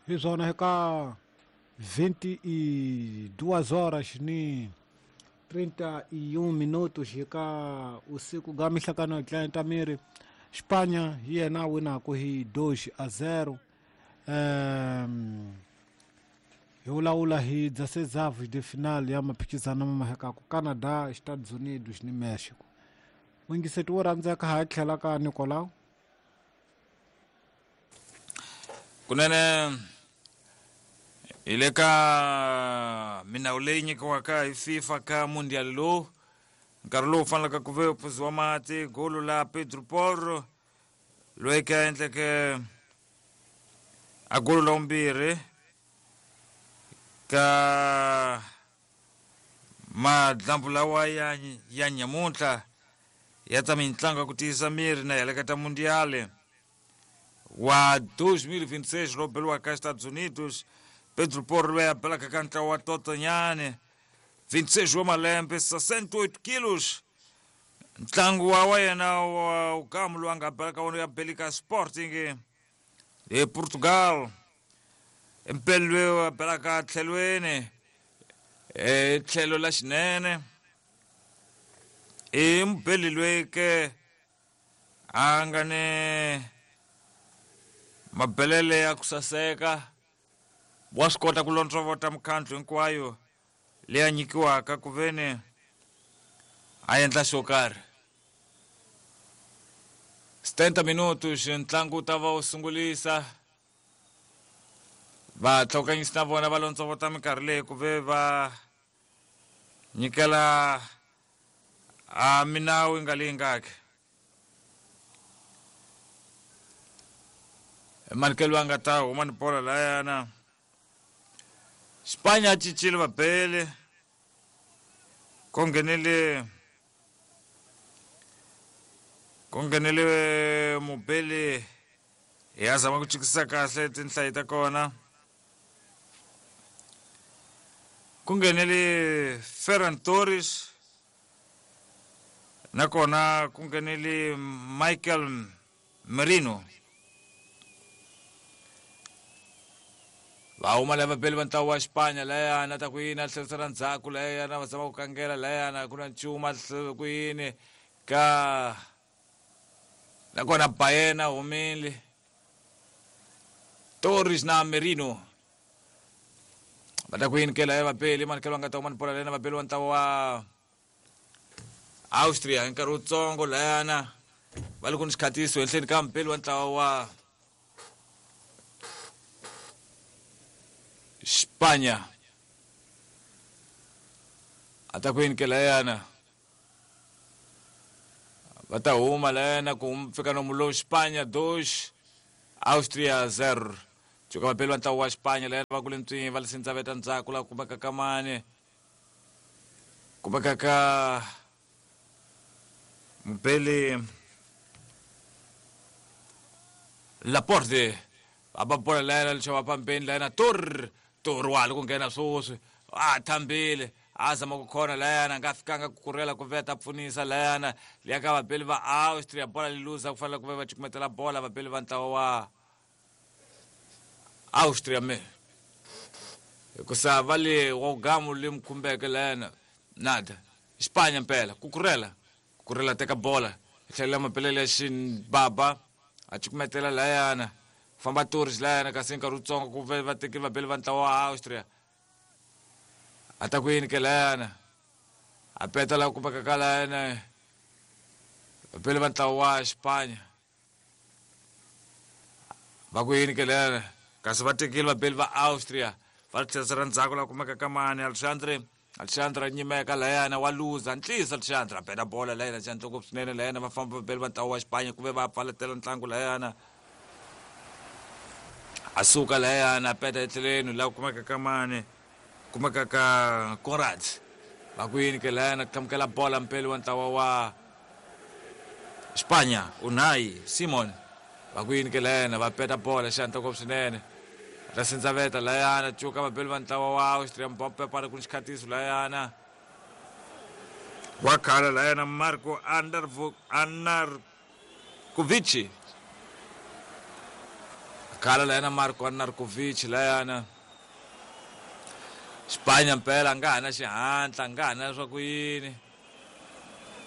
Hi swona eka 22 horas ni 31 minutos eka usiku ga mihlakano ya tlanta miri Espanha hi yena a winaku hi 2-0. Hi vulavula hi 16 de final ya maphikizano ma mahekaku Canada, Estados Unidos ni Mexico. N'wingiseti wo rhandzeka ha tlhela ka Nicolau. Kunene hi le ka minawu leyi nyikiwaka hi FIFA ka Mundial lowu nkarhi lowu faneleke ku ve u phuziwa mati golo la Pedro Porro loyi ka endleke a golo la vumbirhi ka madlambu lawa ya nyamuntlha ya ta mintlangu ya ku tiyisa miri na heleketa ta Mundial wa 2026 lowu beriwaka Estados Unidos. Pedro Porro loyi a belaka ka ntlawa wa Totonyane, 26 wa malembe, 68 kilos. Ntlangu wa yena wa ugamu lowu a nga belaka wona ya belika Sporting e Portugal. Mpeli loyi a belaka tlhelweni e tlhelo la xinene i mubeli loyi ke a nga ni mabelele ya ku saseka, wa swi kota ku londzovota mikhandlu hinkwayo leyi a nyikiwaka ku veni a endla xo karhi. 70 minutos ntlangu wu ta va wu sungulisa. Vatlhokanyisi na vona va londzovota minkarhi leyi ku ve va nyikela a minawu yi nga leyi ngaki. Manikelo a nga ta huma ni bola layana. Spanya a cincile vabeli ku nghenele mubeli ya zama ku chikisa kahle tinhlayi ta kona. Ku nghenele Ferran Torres nakona ku nghenele Michael Merino. Va huma lava vabeli va ntlawa wa Xipanya layana ta ku yini a tlherisela ndzhaku layana va zama ku kangela layana ku na nchumu a ku yini ka nakona Bayena humile Torres na Merino va ta ku yini ke laya vabeli manikelo nga ta huma ni bola layana vabeli wa ntlawa wa Austria hi nkarhi wutsongo layana va le ku ni xikhatiso henhleni ka mubeli wa ntlawa wa Spanya a ta ku yini ke layana va ta huma layana ku fika nomu lowu Spanya 2 Austria 0. Cuka vabeli va ntlawa wa Spanya layana va kule ntswini va lisindza ndzhaku la kumeka ka mani kumeka ka mubeli Laporte va ba bola layana lexava pambeni layana Tor wa ha ku nghena swoswi a thambile a zama ku khona layana nga fikanga ku kurela ku veta pfunisa layana liya ka vabeli va Austria bola li luza ku fanele ku ve va cukumetela bola vabeli va ntlawa wa Austria me hikusa va le wa gamu le mukhumbeke layana nada Spanya mpela ku kurela teka bola tlhelela mapelele ya xibaba a cukumetela layana famba Torres layana kasi nkarhi wutsongo ku ve va tekile vabeli va ntlawa wa Austria a ta ku yini ke layana a peta la kumeka ka layana vabeli va ntlawa wa Spanya va ku yini ke layana kasi va tekile vabeli va Austria va tlherisela ndzhaku la kumeka ka mani Alexandre nyimeka layana wa luza ntlisa Alexandre a bela bola layana xandla ngopfu swinene layana va famba vabeli va ntlawa wa Xipanya ku ve va pfaletela ntlangu layana a suka layana a peta etlheleni la kumeka ka mani kumeka ka Conrad va ku yini ke layana ku tlhamukela bola mpeli wa ntlawa wa Xipanya Unai Simon va ku yini ke layana va peta bola xandla ngopfu swinene ta sindzaveta layana cuka vabeli va ntlawa wa Austria Mbappe ku ni xikhatiso layana wa khala layana Marco Arnautovic Akhala layana Marko Narkovic layana. Xipanya mpela nga ha na xihatla, nga ha na swa ku yini.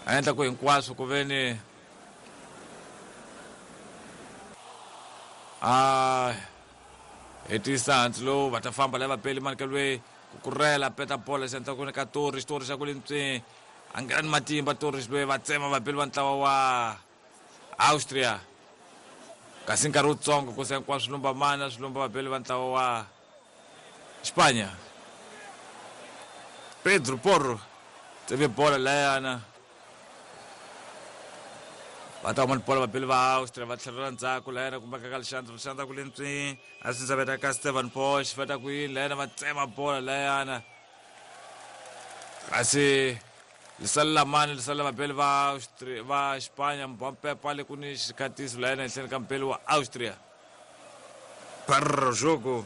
A endla ku hinkwaswo ku ve ni a hetisa hansi lowu va ta famba lava peli mani ka lweyi ku kurela peta bola xi endla ku ni ka Torres, Torres xa ku le ntswini a nghena ni matimba Torres lweyi va tsema vapeli va ntlawa wa Austria kasi nkarhi wutsongo ku se hinkwaswo swi lumba mana swi lumba vapeli va ntlawa wa Xipanya. Pedro Porro tseve bola layana va ta huma ni bola vapeli va Austria va tlhelela ndzhaku layana kumbe ka Alexandre Alexandre ku le ntswini a swi veta ka Stevan Posch va ta ku yini layana va tsema bola layana kasi lisalela mani lisalela vapeli va Austria va Xipanya Mbappe le ku ni xikhatiso layana ehenhleni ka mpeli wa Austria. Para jogo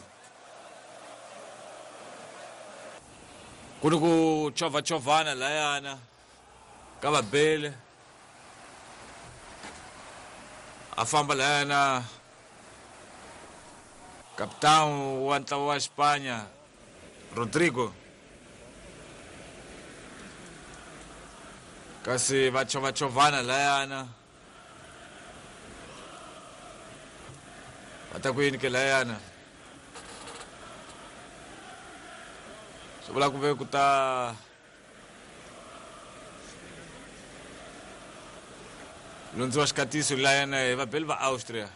ku ni ku chovachovana layana ka vabele a famba layana kapitani wa ntlawa wa Xipanya Rodrigo kasi va chovachovana layana va ta ku yini ke layana swi vula ku ve ku ta lundziwa xikatiso layana hi vabeli va Austria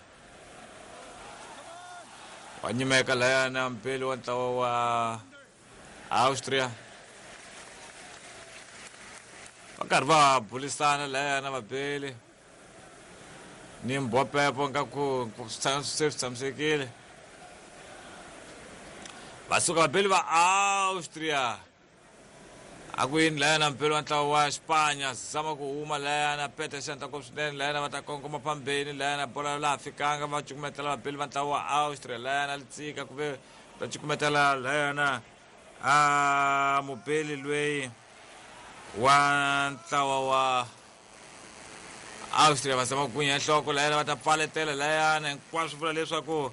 wa nyimeka layana mpeli wa ntlawa wa Austria va karhi va bulisana layana vabeli ni Mbappe nga ku se swi tshamisekile va suka vabeli va Austria a ku yini layana mpeli wa ntlawa wa Xipanya zama ku huma layana peta xandla ko swinene layana va ta kongoma phambeni layana bola laha fikanga va cukumetela vabeli va ntlawa wa Austria layana litsika ku ve va cukumetela layana a mubeli lweyi wa ntlawa wa Austria va zama ku gwinya nhloko layana va ta pfaletela layana hinkwaswo vula leswaku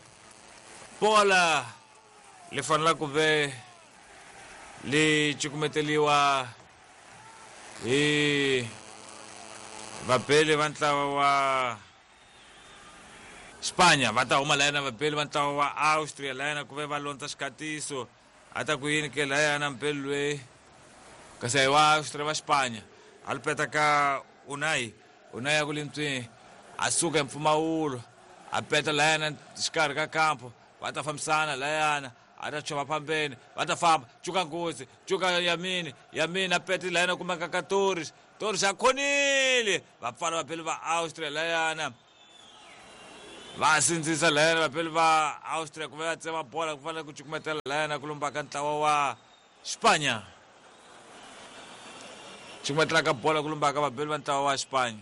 bola li fanela ku ve li cukumeteliwa hi vabeli va ntlawa wa Xipanya va ta huma layana vabeli va ntlawa wa Austria layana ku ve va londza xikatiso a ta ku yini ke layana mpeli lweyi kasi a hi wa Austria va Xipanya a li peta ka Unai Unai a ku le ntswini a suka hi mpfumawulo a peta layana xikarhi ka kampo va ta fambisana layana a ta chova phambeni va ta famba cuka nghozi cuka yamini yamini a pete layana kumeka ka Torres Torres a khonile va pfala vapeli va Austria layana va sindzisa layana vapeli va Austria ku va tsema bola ku fanele ku cukumetela layana ku lumba ka ntlawa wa Xipanya cukumetela ka bola ku lumba ka vapeli va ntlawa wa Xipanya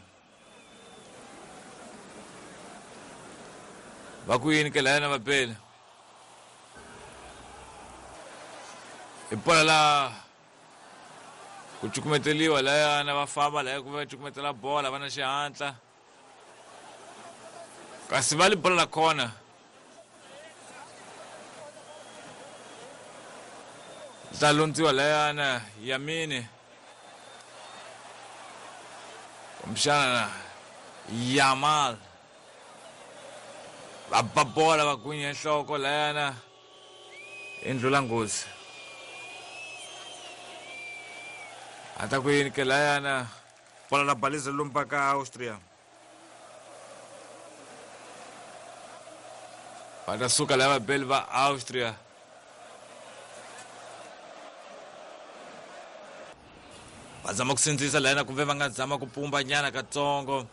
va ku yini ke layana vapeli hi bola la ku cukumeteliwa layana va famba laya ku va cukumetela bola va na xihatla kasi va li bola la kona ta londziwa layana yamini kumbexana Yamal va ba bola va gwinya nhloko layana i ndlula nghozi a ta ku yini ke layana bola la baliza lumba ka Austria va ta suka lava vabeli va Austria va zama ku sindzisa layana kumbe va nga zama ku pumba nyana katsongo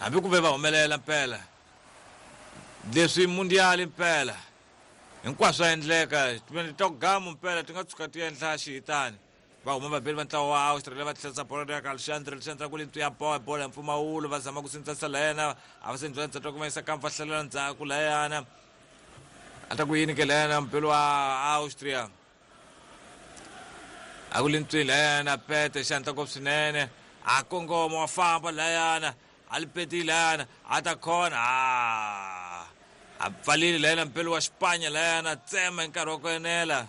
hambi ku ve va humelela mpela leswi mundiali mpela hinkwaswo swa endleka to gamu mpela ti nga tshuka ti endla xihitani va huma vabeli va ntlawa wa Australia va tlherisa bola ya ka Alexandre Alexandre ku le ya bola bola ya mpfumawulo va zama ku sindzisa layana a va sindzisa ndzhaku ku va yisa kampa va hlalela ndzhaku layana a ta ku yini ke layana mpelo wa Austria a ku le ntswini layana pete xandla ngopfu swinene a kongoma wa famba layana a li petile layana a ta khona a A pfalile layana mpelo wa Xipanya layana tsema hi nkarhi wa ku enela.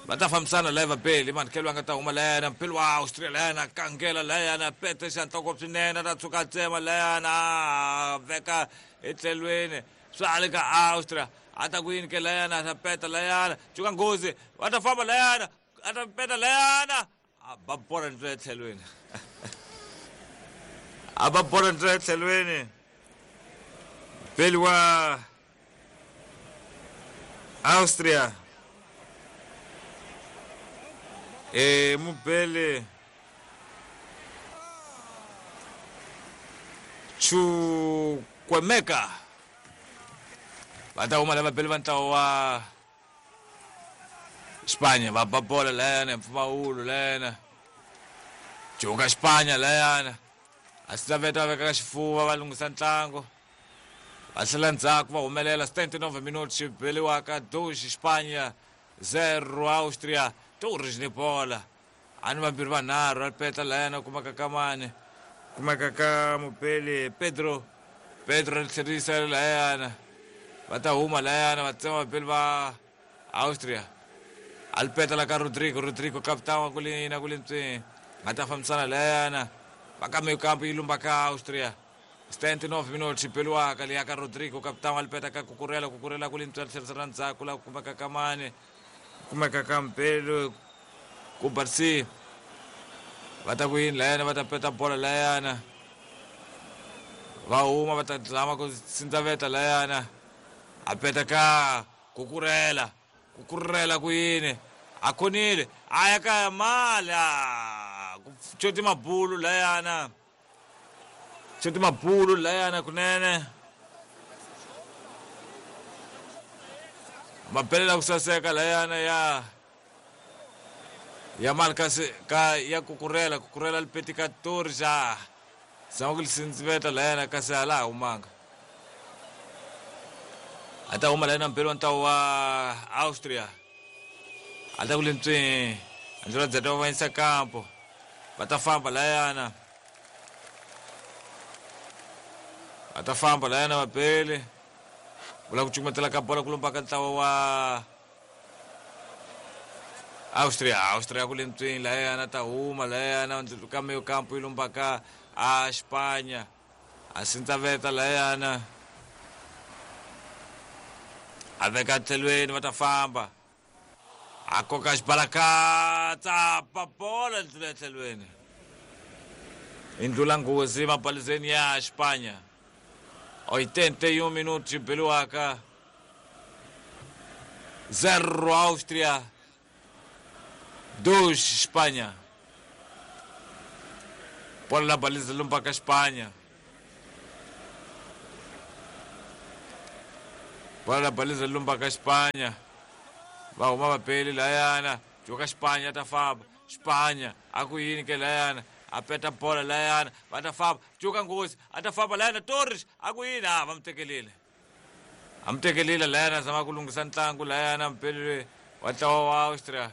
Va ta fambisana laya vapeli manikelo a nga ta huma layana mpelo wa Austria layana kangela layana pete xantloko swinene ta tshuka tsema layana veka etlhelweni swa le ka Austria a ta ku yini ke layana ta peta layana cuka nghozi va ta famba layana a ta peta layana a ba bola ndlela etlhelweni a ba bola ndlela etlhelweni mpeli wa Austria mubele Chukwemeka va ta huma lava bele va ntlawa wa Xipanya va ba bola layana mpfumawulo layana cuka Xipanya layana a swi laveta va veka xifuva va lunghisa ntlangu va tlhela ndzhaku va humelela 79 minutos xi beliwaka 2 Xipanya 0 Austria Torres ni bola a ni vambirhi vanharhu a peta layana kumeka ka mani kumeka ka mupeli Pedro Pedro ri tlherisa layana va ta huma layana va tsema vapeli va Austria a li peta la ka Rodrigo Rodrigo capitão wa kulina kulintswini nga ta fambisana layana va ka mekampo yi lumba ka Austria 79 minutos xibeliwaka liya ka Rodrigo capitão a li peta ka Kukurela Kukurela kulintswi tlherisa ra ndzhaku la kumeka ka mani kumeka ka mpelo ku Barsi va ta ku yini layana va ta peta bola layana va huma va ta zama ku sindzaveta layana a peta ka Kukurela Kukurela ku yini a khonile a ya ka mala ku coti mabulu layana coti mabulu layana kunene mabelela ku saseka layana ya ya mali kasi ka ya Kukurela Kukurela lipeti ka Torres a zama ku lisindziveta layana kasi a laha humanga a ta huma layana mpelo wa ntlawa wa Austria a ta ku lintswini andlela dzeta va vanyisa kampo va ta famba layana va ta famba layana vapeli vula ku cukumetela ka bola ku lumba ka ntlawa wa Austria Austria ku lintswini layana ta huma layana ka meyo kampo yi lumba ka a Xipanya a sindzaveta layana a veka tlhelweni va ta famba a koka xibalakatsa ba bola ndlula etlhelweni i ndlula nghozi mabalizeni ya Xipanya 81 minutos xibeliwaka 0 Austria 2 Xipanya bola la baliza lumba ka Xipanya bola la baliza lumba ka Xipanya va huma vapeli layana joka Xipanya ta famba Xipanya a ku yini ke layana a peta bola layana va ta famba joka nghozi a ta famba layana Torres a ku yini a va mu tekelile a mu tekelile layana zama ku lunghisa ntlangu layana mpeli wa ntlawa wa Austria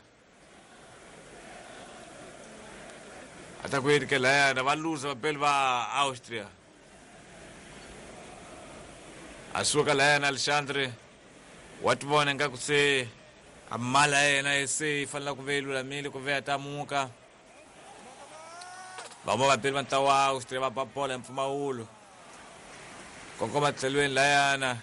a ta ku yini ke layana va luza vapeli va Austria a suka layana Alexandre wa ti vona ingaku se a mala ya yena se yi fanele ku ve yi lulamile ku ve ya ta muka va huma vapeli va ntlawa wa Austria va ba bola hi mpfumawulo kongoma tlhelweni layana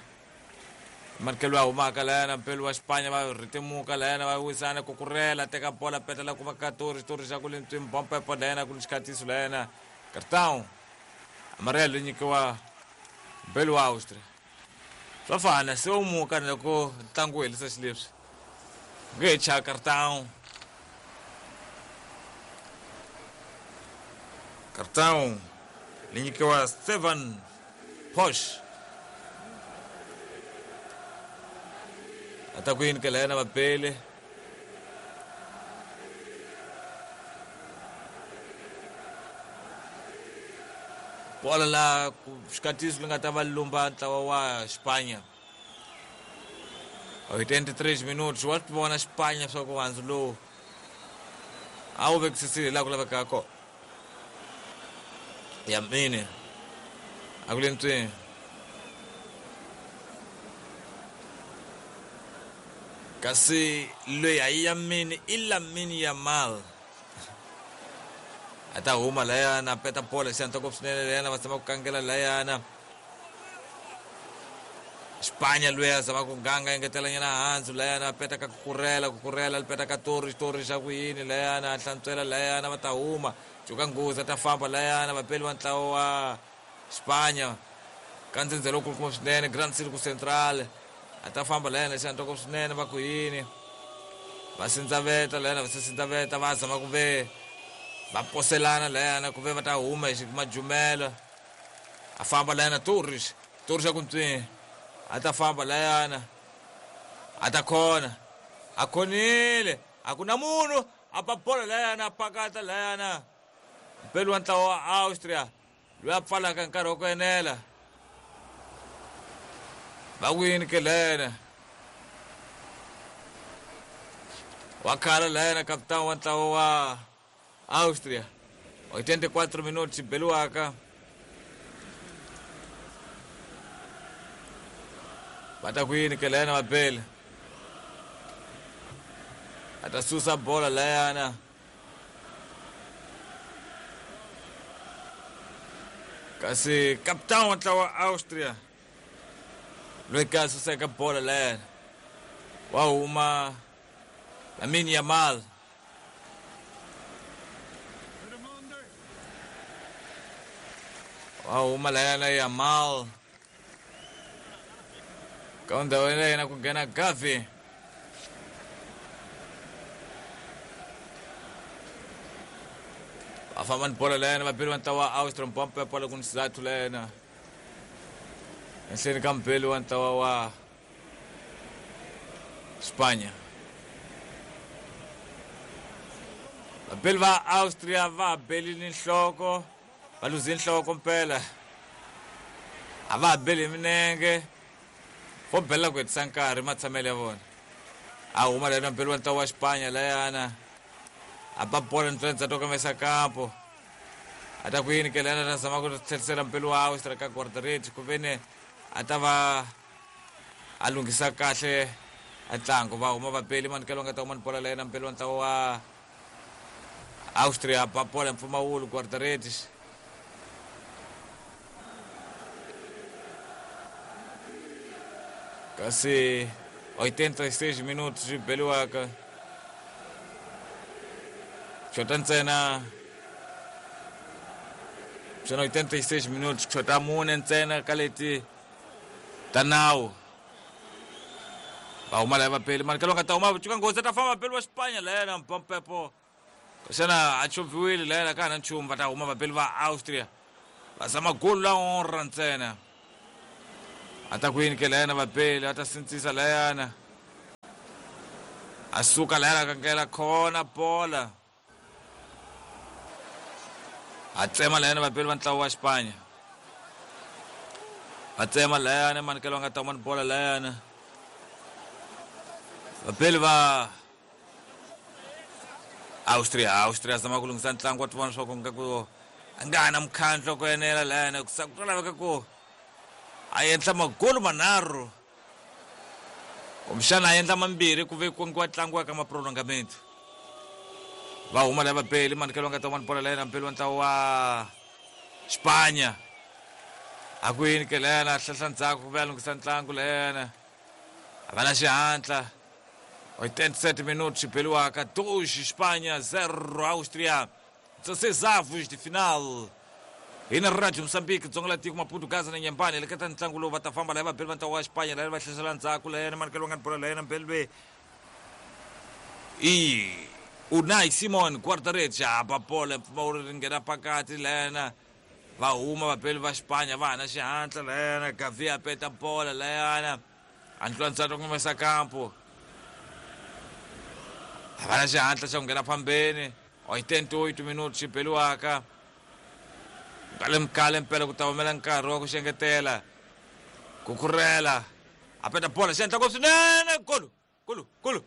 manikelo ya humaka layana mpelo wa Xipanya va rhitimuka layana va wisana Kukurela teka bola peta la kuma ka Torres Torres ya ku lintswini bompepo layana ku ni xikhatiso layana Cartão amarelo yi nyikiwa mpelo wa Austria swa fana se u muka loko ntlangu wu helisa xileswi nge he chaya Cartão Cartão li nyikiwa Stefan Posch a ta ku yini ke layana vapeli bola la xikatiso li nga ta va lumba ntlawa wa Xipanya 83 minutos wa swi vona Xipanya swa ku handzu lowu a wu vekisisile laha ku lavekaka kona ya mine a ku le ntswini Kasi loyi a yi Yamini i Lamine Yamal. A ta huma layana, peta bola xi ngopfu swinene layana, va tshama ku kangela layana. Spanya loyi a zama ku ganga engetela nyana hansi layana, peta ka kukurela peta ka Torres, Torres xa ku yini layana, hlantswela layana, va ta huma. Cuka nghozi ta famba layana, vapeli va ntlawa wa Spanya. Ka ndzhendzelo wukulukumba swinene, Grand Circo Central. A ta famba layana xi ngopfu swinene, va ku yini. Va sindzaveta layana, va sindzaveta, va zama ku ve va poselana layana ku ve va ta huma hi majumela. A famba layana Torres, Torres a ku ntswi. A ta famba layana, a ta khona, a khonile, a ku na munhu, a ba bola layana, a pakata layana. Mpeli wa ntlawa wa Austria loyi a pfalaka nkarhi wa ku enela. Va ku yini ke layana? Wa khala layana kapitani wa ntlawa wa Austria. 84 minutos beliwaka. Va ta ku yini ke layana vapeli? A ta susa bola layana. Kasi kapitani wa ntlawa wa Austria loyi ka suseka bola layana wa huma Lamine Yamal. Wa huma layana Yamal. Ka ndhawu ya yena ku nghena Gavi. Va famba ni bola layana, vapeli va ntlawa wa Austria, mpompo ya bola ku ni sizathu layana. Henhleni ka mpeli wa ntlawa wa Spanya. Vapeli va Austria va belile nhloko, va luze nhloko mpela. A va beli minenge. Vo bela ku hetisa nkarhi matshamelo ya vona. A huma layana mpeli wa ntlawa wa Spanya layana. A ba bola ntsena to kamesa kampo. A ta ku yini ke layana, ta zama ku tlherisela mpeli wa Austria ka guarda-redes ku veni a ta va a lunghisa kahle a ntlangu. Va huma vapeli manikelo nga ta huma ni bola layana mpeli wa ntlawa wa Austria, ba bola mpfumawulo guarda-redes. Kasi 86 minutos beliwaka. Xota ntsena xona 86 minutos, xota mune ntsena ka leti ta nawu. Va huma laya vapeli, manikelo nga ta huma cuka nghozi ta famba vapeli wa Spanya layana mpompepo. Xana a chovhiwile layana ka ha na nchumu, va ta huma vapeli va Austria. Va zama golu la honra ntsena. A ta ku yini ke layana vapeli, a ta sindzisa layana. A suka layana kangela khona bola. A tsema layana vapeli va ntlawa wa Spanya. Va tsema layana manikelo nga ta huma ni bola layana. Vapeli va Austria, Austria zama ku lunghisa ntlangu wa tivona swa ku nga ku a nga ha na mukhandlo ku enela layana, ku ku laveka ku a endla magolu manharhu kumbexana a endla mambirhi ku ve ku ngiwa ntlangu ka maprolongamento. Va huma laya vapeli, manikelo nga ta huma ni bola layana mpeli wa ntlawa wa Spanya. A ku yini ke layana, hlahla ndzhaku ku ve a lunghisa ntlangu layana. A va na xihatla. 87 minutos beliwaka, 2 Espanha, 0 Áustria. 16 avos de final. Hi na Radio Moçambique, Dzonga la tiko Maputo, Gaza na Nyambani. Leketa ntlangu lowu va ta famba laya vapeli va ntlawa wa Spanya laya va hlasela ndzhaku layana manikelo nga ni bola layana mpeli ve i Unai Simon guarda-redes a ba bola mpfumawulo ri nghena pakati layana. Va huma vapeli va Spanya va ha na xihatla layana. Gavi a peta bola layana. A ndlula ntsata ku humesa kampo. A va na xihatla xa ku nghena phambeni. 88 minutos xi beliwaka. Kale mkale mpela ku ta humela nkarhi wa ku xengetela. Kukurela. A peta bola xi endla ngopfu swinene. Golu, golu, golu.